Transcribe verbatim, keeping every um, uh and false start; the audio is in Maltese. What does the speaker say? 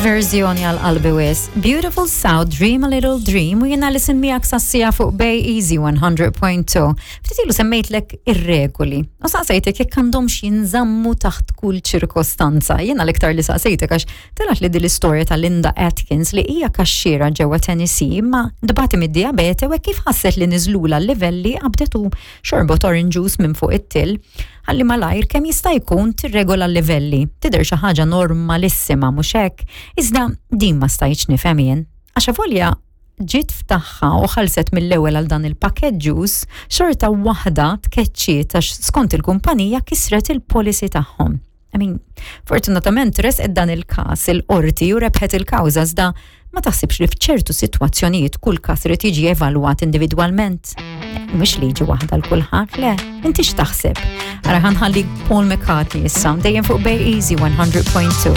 Verżjoni għal qalbi wisq. Beautiful South, Dream a Little Dream, u jiena Alison miegħek sas-siegħa fuq Bay Easy one hundred point two. Ftit ilu semmejtlek ir-regoli. U saqsejtek jekk għandhomx jinżammu taħt kull ċirkostanza. Jiena l-iktar li saqsejtek għax telgħet li din l-istorja ta' Linda Atkins, li hija kaxxiera ġewwa Tennessee, ma tbati mid-diabete, u kif ħasset li niżlula l-livelli qabdet u xorbot orange juice minn fuq it-till ħalli malajr kemm jista' jkun tirregola l-livelli. Tidher xi ħaġa normalissima, mhux hekk? Iżda din ma stajtx nifhem jien. Għax avolja ġiet f'tagħha u ħalset mill-ewwel għal dan il-packet juice, xorta waħda tkeċċiet għax skont il-kumpanija kisret il-policy tagħhom. I mean, fortunatament resqet dan il-kas il-qorti u rebħet il-kawża, iżda ma taħsibx li f'ċertu sitwazzjonijiet kull kas irid jiġi evalwat individwalment? Mhux liġi waħda l kulħadd, le, inti x'taħseb? Ara, ħa nħalli Paul McCartney issa, dejjem fuq Bay Easy one hundred point two.